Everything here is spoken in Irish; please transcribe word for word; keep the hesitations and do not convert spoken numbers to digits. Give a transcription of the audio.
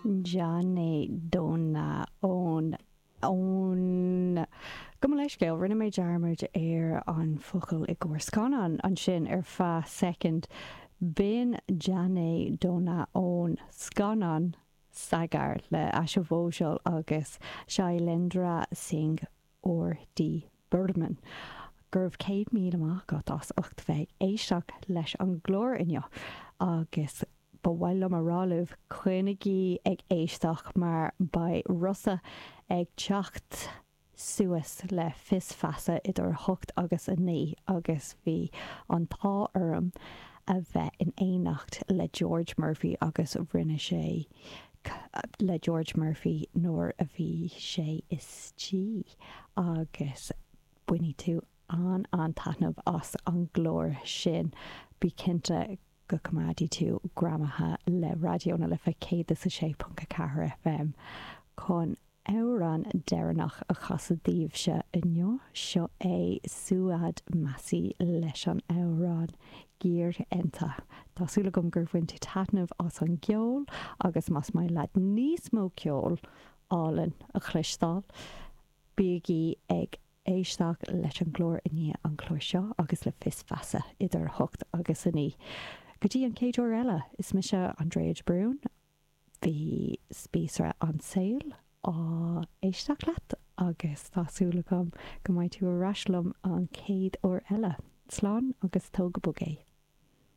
Jaane Do Na ón ón Gabh mo leithscéal, rinne mé dearmad ar an focal i gcomhair scannán ansin ar feadh soicind. B'in Jaane Do Na ón scannán Sagar le Asha Bhosle agus Shailendra Singh R D Burman. Go raibh céad míle maith agat as ucht bheith ag éisteacht leis an gclár inniu agus ba mhaith liom a rá libh coinnigí ag éisteacht mar beidh Rossa ag teacht suas le Fios Feasa idir a hocht agus a naoi agus bhí an t-ádh orm a bheith in éineacht le George Murphy agus rinne sé le George Murphy nuair a bhí sé istigh agus bainfidh tú an an-taitneamh as an gclár sin bí cinnte go gcoimeádfaidh tú greamaithe le Raidió na Life céad is a sé ponc a ceathair F M chun amhrán deireanach a chasadh daoibhse inniu. Seo é Suad Massey leis an amhrán Girenta. Tá súil agam gur bhain tú taitneamh as an gceol agus más maith leat níos mó ceol álainn a chloisteáil. Bígí ag éisteacht leis an gclár i ndiaidh an chlár seo agus le Fios Feasa idir a hocht agus a naoi. Go dtí an chéad uair eile is mise Andrea de Brún, bhí spíosra an tsaoil á éisteacht leat agus tá súil agam go mbeidh tú ar ais liom an chéad uair eile. Slán agus tóg go bog é.